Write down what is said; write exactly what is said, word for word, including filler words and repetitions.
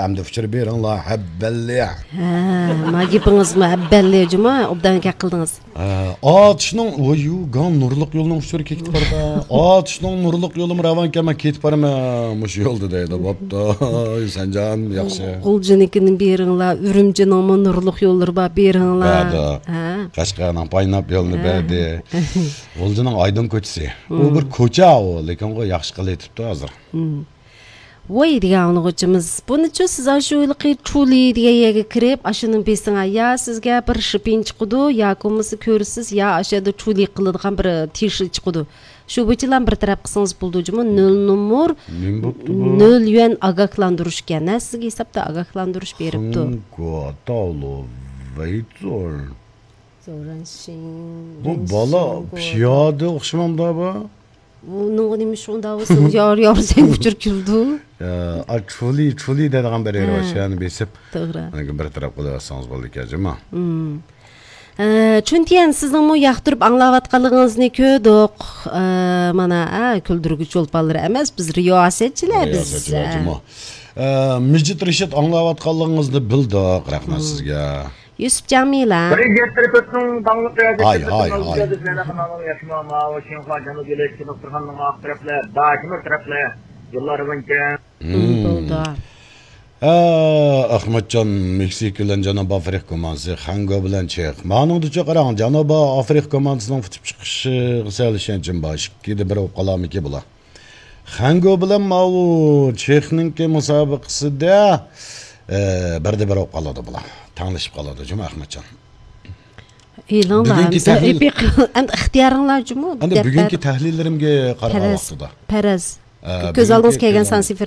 ئەمدى ئۇچۇر بېرىڭلار، ھەببەللى. ھە، ما گېپىڭىزمۇ ھەببەللى جۇما، ئوبدان گەپ قىلدىڭىز. ھە، ئاتۇشنىڭ، ۋويۇ، گاڭ نۇرلۇق يولنىڭ ئۇچۇرى كېتىپ باردا. ئاتۇشنىڭ نۇرلۇق يولىمۇ راۋانكەن، مەن كېتىپ بارىمەن مۇشۇ يولدا دەيدۇ. بوپتۇ، سەنجان ياخشى. غۇلجىنىڭكىنى بېرىڭلار، ئۈرۈمچىنىڭمۇ نۇرلۇق يوللىرى بار، بېرىڭلار. بەدە. ھە. قەشقەرنىڭ پايناپ يولىنى ھە. بەردى. غۇلجىنىڭ ئايدىڭ كوچىسى. ئۇ بىر كوچا ئۇ، لېكىن ئۇ ياخشى قىلىۋېتىپتۇ ھازىر. ۋوي دېگەن ئاڭلىغۇچىمىز، بۇنىچۇ سىز ئاشۇ ھېلىقى چۇلى دېگەن يەرگە كىرىپ، ئاشۇنى بېسىڭا، يا سىزگە بىر شىپىن چىقىدۇ، ياكى بولمىسا كۆرىسىز، يا ئاشۇ يەردە چۇلى قىلىدىغان بىر تىشى چىقىدۇ. شۇ بويىچىلا بىر تەرەپ قىلسىڭىز بولىدۇ جۇمۇ، نۆل نومۇر، نېمە بوپتۇ بۇ؟ نۆل يۈەن ئاگاھلاندۇرۇش ئىكەن. ھە، سىزگە ھېسابتا ئاگاھلاندۇرۇش بېرىپتۇ. خېڭگۇا تاۋلۇ ۋېيزور. بۇ بالا پىيادە ئوخشىمامدا بۇ؟ ئۇنىڭغا نېمە شۇنداق بولسا، يار، يار، سەن ئۇچۇر كېلىدۇ. ئا، چۇلى، چۇلى دەيدىغان بىر يېرى بار، ئە، شۇ يەرنى بېسىپ، توغرا. بىر تەرەپ قىلىۋەتسىڭىز بولىدىكەن جۇما. ئە، چۈنتيەن، سىزنىڭمۇ ياقتۇرۇپ ئاڭلاۋاتقانلىقىڭىزنى كۆردۇق. ئە، مانا، ئە، كۈلدۈرگۈچ چولپانلىرى ئەمەس، بىز رىياسەتچىلەر، بىز. رىياسەتچىلەر جۇما. ئە، مىجىت رىشىت ئاڭلاۋاتقانلىقىڭىزنى بىلدۇق، رەھمەت سىزگە. يۈسۈپ جامىلە. بىرىنچى تەرىپىنىڭ داڭلىق رىياسەتچىسى، ھاي، ھاي، ھاي. ماۋۇ شىنخۇا جەنۇبىي لېكسىكا دوختۇرخانىنىڭ ئارقا تەرەپلىرى، داشىمىر تەرەپلىرى، يوللار بويىچە. مم. بولدى. ئە، ئەخمەتجان، مېكسىكا بىلەن جەنۇبىي ئافرىقا كوماندىسى، خەنگو بىلەن چېخ. مانىڭدىچۇ قاراڭ، جەنۇبىي ئافرىقا كوماندىسىنىڭ پۈتۈپ چىقىشىغا سەل ئىشەنچىم بار. ئىككىدە بىر بولۇپ قالارمىكى بۇلار؟ خەنگو بىلەن ماۋۇ چېخنىڭكى مۇسابىقىسىدە، ئە، بىردە بىر بولۇپ قالىدۇ بۇلار. تەڭلىشىپ قالىدۇ جۇمۇ ئەخمەتجان. ئېلىڭلار، بۈگۈنكى ئەمسە تەھلىل ئېپىق، ئەمدى ئىختىيارىڭلار جۇمۇ، ئەمدى دەپ بۈگۈنكى بەر. تەھلىللىرىمگە قارىغان پەرەز، ۋاقتىدا. پەرەز. ئە، كۆز بۈگۈنكى ئالدىڭىزغا كەلگەن تەھلىل. سانسى